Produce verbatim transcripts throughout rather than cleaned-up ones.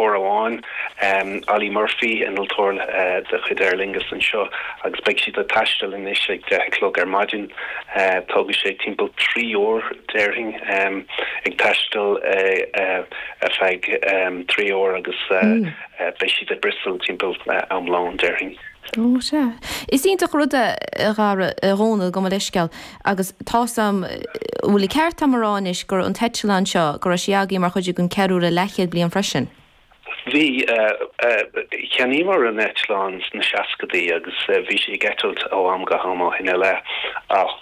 innealtóir amháin, um, Ali Murphy, innealtóir uh, de chuid Aer Lingus anseo, agus beidh siad ag taisteal anois ag deich a chlog ar maidin. uh, Tógfaidh sé timpeall trí uair, déarfainn, um, ag taisteal uh, uh, ar feadh um, trí uair agus uh, mm. uh, beidh siad i Bristol timpeall uh, am lóin, déarfainn. Ó sea. Is iontach rud é, a Dhara, a Dhónaill, gabh mo leithscéal, agus tá sam bhfuil ceart agam a rá anois gur an t-eitleán seo go raibh sé agaibh mar chuid den cheiliúradh leathchéad bliain freisin. Bhí. Cheannaíomar an eitleán sna seascadaí agus bhí sé ag eitilt ó am go ham ó shin i leith, ach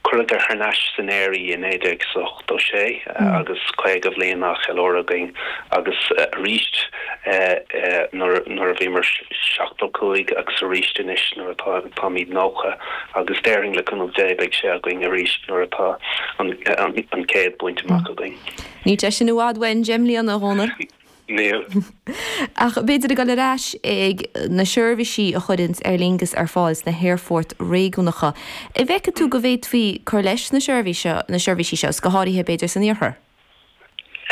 cuireadh thar n-ais san aer í i naoi déag ochtó sé agus caoga bhliain á cheiliúradh againn agus arís nuair a bhíomar seachtó cúig agus arís anois nuair atá táimid nócha agus déarfainn, le cúnamh Dé, beidh sé againn arís nuair atá an céad bainte amach againn. Níl sé sin i bhfad uainn, deich mbliana, a Dhónaill. Níl. Ach b'fhéidir ag dul ar ais ag na seirbhísí a chuireann Aer Lingus ar fáil sna haerfoirt réigiúnacha. An bhfeiceann tú go bhféadfaí cur leis na na seirbhísí seo, go háirithe b'fhéidir san iarthar?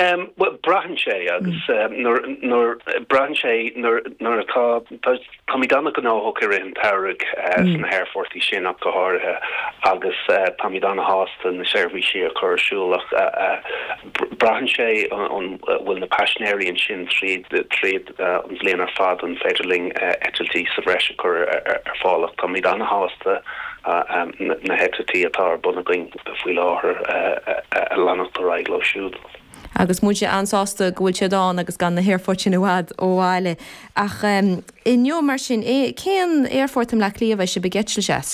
Um, well, braitheann sé agus um, nuair braitheann sé nuair atá táimid an-ghnóthach i rith an tsamhraidh uh, mm. sna haerfoirt sin ach go háirithe agus uh, táimid an-shásta na seirbhísí a chur ar siúl ach uh, uh, braitheann sé an bhfuil na paisinéirí ansin tríd tríd uh, an bhliain ar fad an féidir linn uh, eitiltí sa bhreis a chur ar, ar fáil ach táimid an-shásta uh, um, na heitiltí atá ar bun againn faoi láthair uh, uh, a leanacht ar aghaidh leo siúd. Agus muid an-sásta go bhfuil siad ann agus gan na haerfoirt sin i bhfad ó bhaile. Ach um, inniu mar sin é cén aerfort i mBleá Cliath a bheidh sibh ag eitilt as?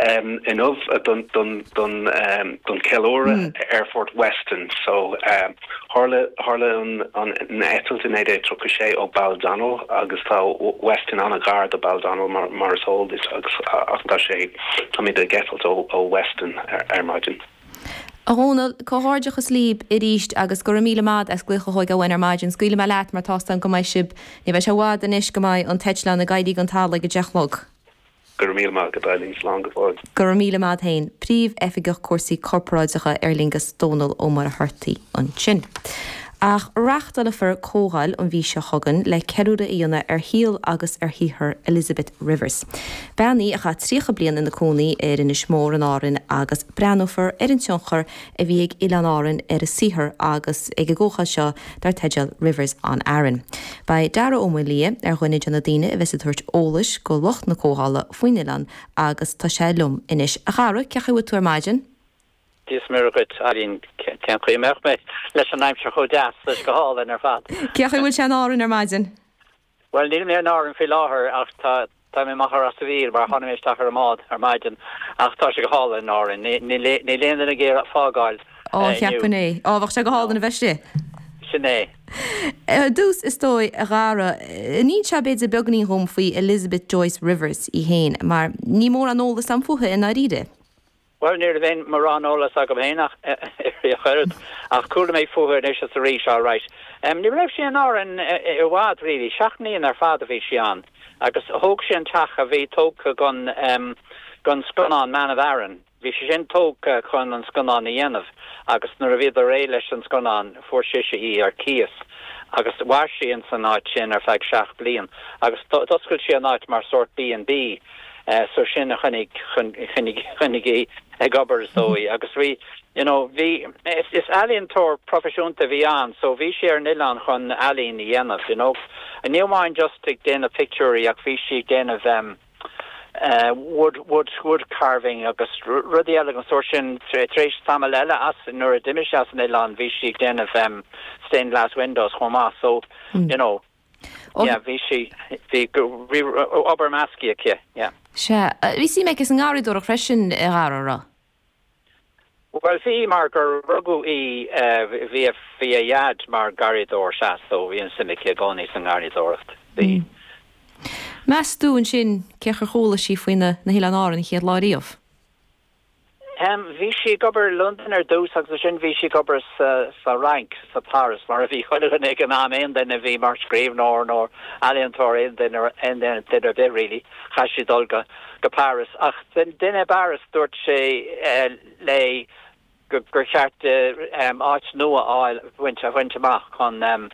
Um, inniu don don don um, don ceiliúradh mm. Aerfort Weston, so um, tharla tharla an an an eitilt in naoi déag tríocha sé ó Baldonnel agus tá Weston an-ghar do Baldonnel mar mar is eol duit agus ach tá sé táimid ag eitilt ó ó Weston ar, ar maidin. A Dhónaill, comhghairdeachas libh arís agus go raibh míle maith as glaoch a thógáil ar maidin. Scaoilfidh mé leat mar tá go mbeidh sibh, ní bheidh sé i bhfad anois go mbeidh an t-eitleán ag éirí den talamh ag a deich a chlog. Go raibh míle maith agat, Eileen, slán go fóill. Go raibh míle maith féin, Príomh-Oifigeach Cúrsaí Corparáideacha Aer Lingus, Dónal Ó Muircheartaigh ansin. Ach reáchtálfar comhdháil an mhí seo chugainn le ceiliúradh a dhéanamh ar shaol agus ar shaothar Elizabeth Rivers. Bean í a chaith tríocha bliain ina cónaí ar Inis Mór in Árainn agus breathnófar ar an tionchar a bhí ag Oileáin Árann ar a saothar agus ag an gcomhdháil seo dar teideal Rivers on Aran. Beidh Dara Ó Maolaodha ar dhuine de na daoine a bheas ag tabhairt eolais go lucht na comhdhála faoin oileán agus tá sé liom anois. A Dhara, cén chaoi a bhfuil tú ar maidin? Dia is Muire dhuit, Eileen, cén chaoi a mbeadh mé leis an aimsir chomh deas leis go hálainn ar fad. Cén chaoi a bhfuil sé in Árainn ar maidin? Well, níl mé in Árainn faoi láthair ach tá tá mé amach ar Ros an Mhíl mar tháinig mé isteach ar an mbád ar maidin ach tá sé go hálainn in Árainn. Níl aon duine ag iarraidh fágáil. Ó, cheapfainn é. Á, bheadh sé go hálainn a bheith istigh. Sin é. Ar dtús is dóigh, a Dhara, inis b'fhéidir beagáinín dhom faoi Elizabeth Joyce Rivers í féin, mar níl mórán eolas agam fúithi i ndáiríre. Well, ní raibh mórán eolas agam féin ach oiread ach chuala mé fúithi anois is arís, all right. Um, ní raibh sí in Árainn i bhfad really, seacht mbliana ar fad a bhí sí ann agus thóg sí an teach a bhí tógtha don um, don scannán Man of Aran. Bhí sé sin tógtha chun an scannán a dhéanamh agus nuair a bhíodar réidh leis an scannán fuair sise í ar cíos agus mhair sí in san áit sin ar feadh seacht bliain agus d'oscail sí an áit mar sort B and B. Uh, so sin a choinnigh choinnigh í ag obair is dóigh agus bhí you know bhí is, is ealaíontóir proifisiúnta bhí ann so bhí sí ar an oileán chun ealaín a dhéanamh you know ní amháin just ag déanamh pictiúirí ach bhí sí ag déanamh um, uh, wood wood wood carving agus rudaí eile an sórt sin tar éis tamall eile as nuair a d'imigh sí as an oileán bhí sí ag déanamh um, stained glass windows chomh maith so mm. you know oh. yeah bhí sí bhí bhí obair measctha aici yeah Sea, bhí suim aici sa ngarraíodóireacht freisin, a Dhara, an raibh? Well, bhí mar gur rugadh í bhí bhí a dhaid mar gharraíodóir, sea, so bhí an suim aici i gcónaí sa ngarraíodóireacht. Bhí. Mm. Meas tú ansin cén chaoi ar chuala sí faoi na na hOileáin Árann an chéad lá riamh? Um, bhí sí ag obair London ar dtús agus sin bhí sí ag obair sa, sa Fhrainc, sa Paris, mar a bhí chuile dhuine ag an am, aon duine a bhí mar scríbhneoir nó ealaíontóir, aon duine aon duine duine ar bith really, chaith sí dul go, go Paris. Ach den duine i bParis dúirt sé uh, léi gur, gur cheart um, áit nua a bhaint a bhaint amach chun um,